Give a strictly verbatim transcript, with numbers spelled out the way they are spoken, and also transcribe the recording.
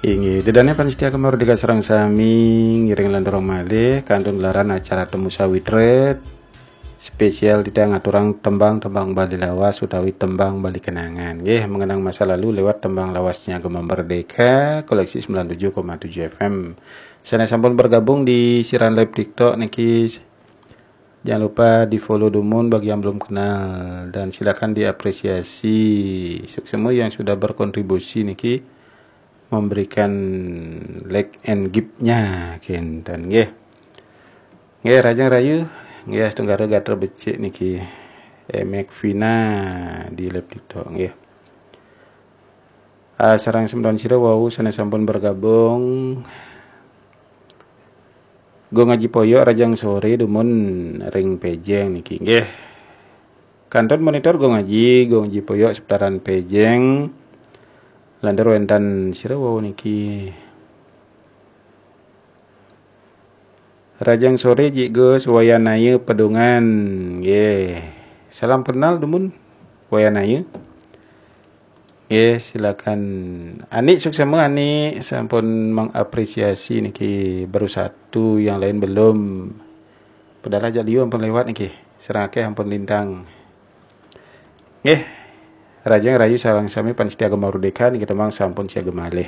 Inggih, ida dané pamiarsa Gema Merdeka sareng sami, ngiring lanturang malih kantun gelaran acara Temu Sawitra spesial titiang ngaturang tembang-tembang Bali lawas utawi tembang Bali kenangan. Nggih, mengenang masa lalu lewat tembang lawasnya Gema Merdeka, koleksi sembilan tujuh koma tujuh F M. Sané sampun bergabung di siaran live TikTok niki, jangan lupa di-follow dumun bagi yang belum kenal dan silakan diapresiasi. Suksma yang sudah berkontribusi niki memberikan like and gift-nya kinten nggih. Nggih, rahajeng rahayu, nggih, Astungkara gatra becik niki. Emek Vina di live TikTok nggih. Ah, sareng semeton sira wau sané sampun bergabung. Gung Aji Poyok rahajeng soré dumun ring Pejeng niki nggih. Kantun monitor Gung Aji, Gung Aji Poyok seputaran Pejeng. Lantur wénten sira wau niki. Rahajeng soré Jik Gus, Wayan Ayu Pedungan. Nggih. Salam kenal dumun Wayan Ayu. Nggih, silakan. Ani, suksma Ani, sampun mengapresiasi niki, baru satu, yang lain belum. Padahal ajak liu ampun lewat niki. Sareng akéh ampun lintang. Nggih. Rahajeng rahayu sareng sami pamiarsa Gema Merdeka niki, tembang sampun siaga malih.